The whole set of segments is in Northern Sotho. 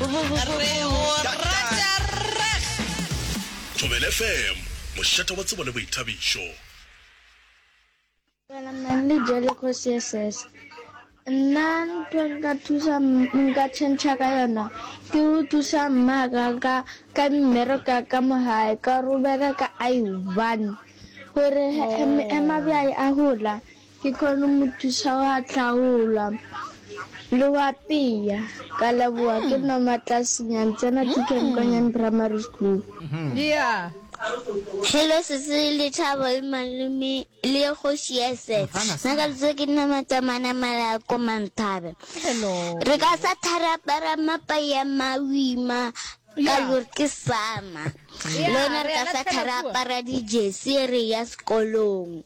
Re go rata reg. Thobela FM, mošate wa tsebo le boithabišo. Dumela Manly Jellico CSS. Nna ntho e nka thusa nka tšhentšha ka yona ke go thusa mmaka ka ka mmereko ya ka mo gae ka gore o bereka a i one gore ge mabjai a gola ke kgone mo thusa go a hlaola le go apea. Ka leboga ke Noma Tlasinyane tsena TK Nkonyane Primary School. Yeah. Hello sesi Lethabo le malome le kgoši ya set. Nna ka lebitso ke nna Matsamana Malako Manthabe. Hello. Re ka sa tharapara mapa ya mawima ka gore ke sama. Le yona re ka sa tharapara di-jersey re ya sekolong.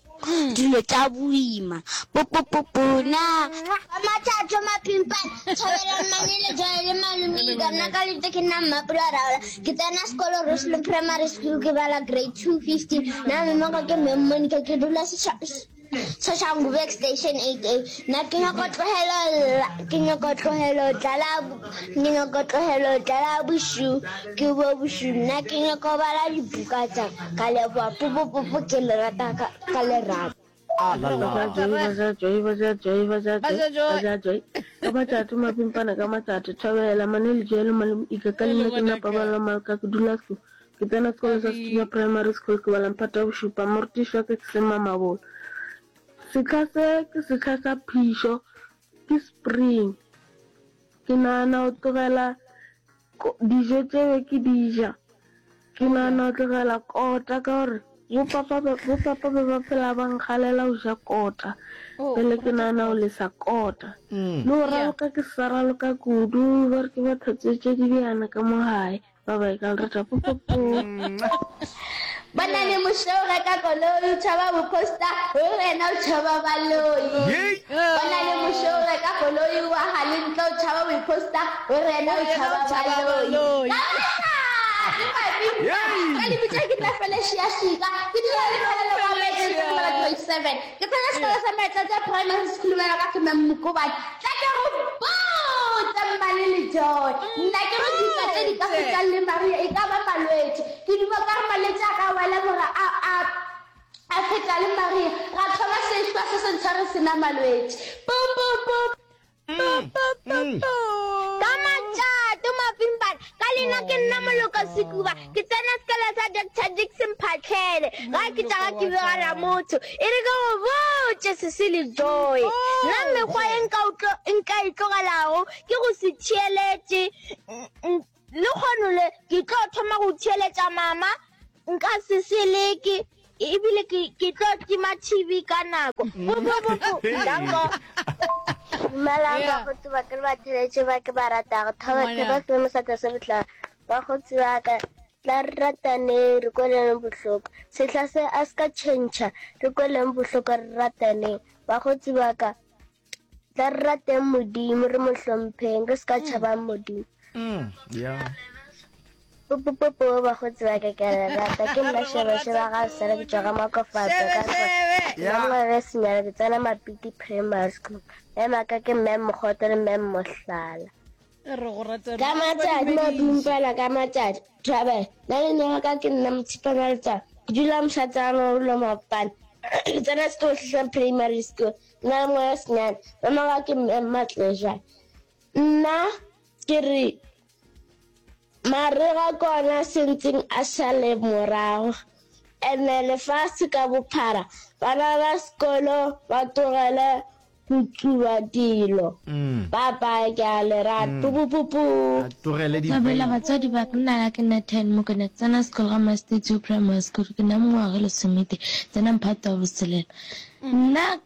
Dilo tša boima. Popopopo na. Ka mathatho maphimpane, Thobela Mmane Lejwale le Malome Ika. Nna ka lebitso ke nna Mmapula Raola. Ke tsena sekolo Roslyn Primary School ke bala grade 215. Nna mme wa ka ke Mem Monica ke dula Soshanguve Station 8A. Nna ke nyaka tlogelo ke nyaka tlogelo tlala ke nyaka tlogelo tlala bošu ke bo bošu. Nna ke nyaka go bala dibuka tša ka leboga popopopo ke le rata ka lerato. Ka matšatši mapimpana ka matšatši Thobela mane lejelo malome Ika ka leina ke nna Paballo Malka ke dula so ke tsena sekolo sa Sethunya Primary School ke bala mphato wa bošupa morutiši wa ka ke Sema Mabolo sehla se ke sehla sa phišo ke spring ke nagana go tlogela Dijo tše be ke di ja, ke nagana go tlogela kota ka gore bopapa bopapa be ba phela ba nkgalela go ja kota. Bjale ke nagana go lesa kota. Le go raloka ke sa raloka kudu, ba re ke ba tlhatswetše dibjana ka mo gae. Ba bye ka le rata popopo. Bona le Moshe o reka koloi o tšhaba boposta o wena o tšhaba baloi. Bona le Moshe o reka koloi o aga le ntlo o tšhaba boposta o wena o tšhaba baloi. Ka lebitso ke nna Felicia Shika ke dula le phelelo kwa Maitlantle ke bala grade 7 ke tsena sekolo sa Maitlantle Primary School wena ka ke Mem Mokobane tla ke go botse Mmale le Joy nna ke re dika tše di ka fetang le Maria e ka ba malwetši Ke duma ka re malwetši a ka wela gore a, a, a feta le Maria, ra thoma sehlwa se sentshwa re se na malwetši. Pu, pu, pu. Ka matšato mapimpana, ka leina ke nna Moloko Sekuba, ke tsena sekolo sa Doctor Dickson Phatlhele, ga ke tša ga ke bega Ramotho. E re ke go botše Cecily Joy, nna mekgwa ye nka nka e tlogelago ke go se theeletše Lehono le ke tlo thoma go theeletša mama, nka se se leke, ebile ke, ke tlo tima TV ka nako. Po, po, po, po. Danko. Dumelang Yeah. bakgotsi ba ka le batheletši ba ke ba ratago. Thabo Ngwana. thabo se mosata se bohlale. Bakgotsi ba ka tla re rataneng re kweleng bohloko. Sehla se a se ka tšhentšha re kweleng bohloko re rataneng. Bakgotsi ba ka Tla re rateng Modimo, re mo hlompheng, re se ka tšhabang Modimo. Mm, yeah. Popopopo bakgotsi ba ka ke a le rata ke nna šebešebe ga sala ke tšwa ga makofatso ka Yeah. ngwaga senyana ke tsena mapiti primary school ema ka ke mme mogoto le mme mohlala Re go rata Ka matšatši madumpela ka matšatši Thabela nna le nna ka ke nna Motshipana Letswalo ke dula Mošatsana o lo Mapane ke tsena sekolo se sa primary school ke na le ngwana senyane mama wa ke mme Matlejane nna ke re marega ke ona sentseng a šale morago ene lefase ka bophara bana ba sekolo ba tlogele go tsuba dilo. Bye bye ke a le rata. Pupupupu. A tlogele di Thabela vape. batswadi ba ka nna ke nna Ten Mokoena ke tsena sekolo ga Masteetswe Primary School ke na mengwaga e lesometee tsena mphato wa botshelela nna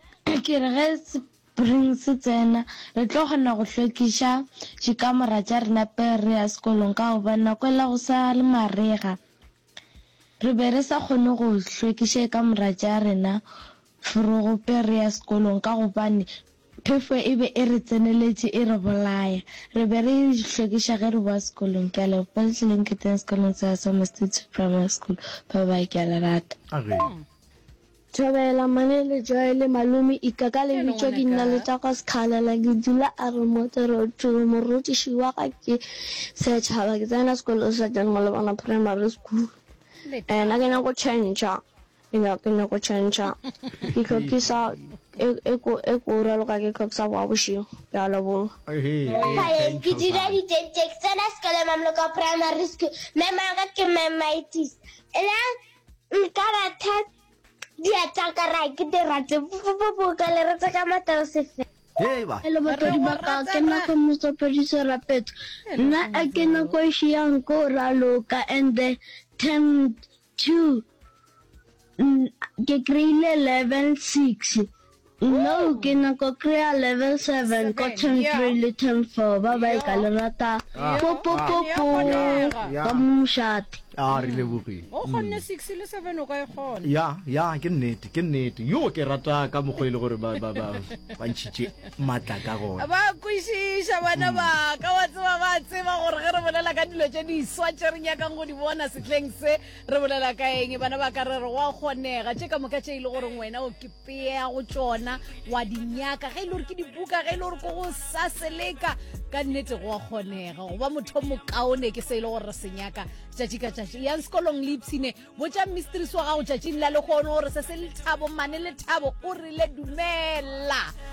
ke re ge spring se tsena re tlo kgona go hlwekiša dikamora tša rena pele re ya sekolong ka gobane nako ela go sa le marega Re be re sa kgone go hlwekiša kamora tša rena forogo pele re ya sekolong ka gobane phefo e be e re tseneletše e re bolaya. Re be re e hlwekiša ge re boa sekolong. Ke a leboga le tlileng ke teng sekolong sa Summer State Primary School. Bye bye, ke a le rata. A ge. Thobela Mane Joy le Malome Ika ka lebitso ke nna Letago Sekhalela ke dula Aremote Road morutiši wa ka ke Setšhaba ke tsena sekolo sa John Malobana Primary School nna ke nyako tšhentšha ke nyako tšhentšha ke hlokisa e ko e ko raloka ke hlokisa boa bošego ke a leboga. Phaleng ke dula ditente ke tsena sekolo Mamloko Primary School mema wa ka ke Mamitis la Nka ratha diatla ka ra ke di rate po ka le rata ka matao sefe. Hello batswadi ba ka, ke nna Kgomotso Phediso Rapetso. Nna a ke nako e šiyang ko raloka and the term 2 ke kry-ile level 6. No ke nyako kry-a level 7 ko term 3 le term 4 ba bye ka le rata po po po po ka mošate. A re lebogile. O kgonne 6 le 7 o ka e kgona. Ya, ya, ke nnete, ke nnete. Yo ke rata ka mokgwa e le gore ba ba ba ba ntšhitše matla ka gona. Ba kwešiša bana ba ka wa tseba ba tseba gore ge re bolela ka dilo tše diswa tše re nyakang go di bona sehleng se re bolela ka eng bana ba ka re re go a kgonega tše ka moka tše e le goreng wena o ke pea go tšona wa di nyaka ge e le gore ke dibuka ge e le gore ko go sa seleka ka nnete go a kgonega go ba motho mokaone ke se e le gore re se nyaka tšatši ka tšatši yang sekolong le ipshine botša mistress wa gago tšatšing la lekgono gore se se lethabo mane lethabo o rile dumela.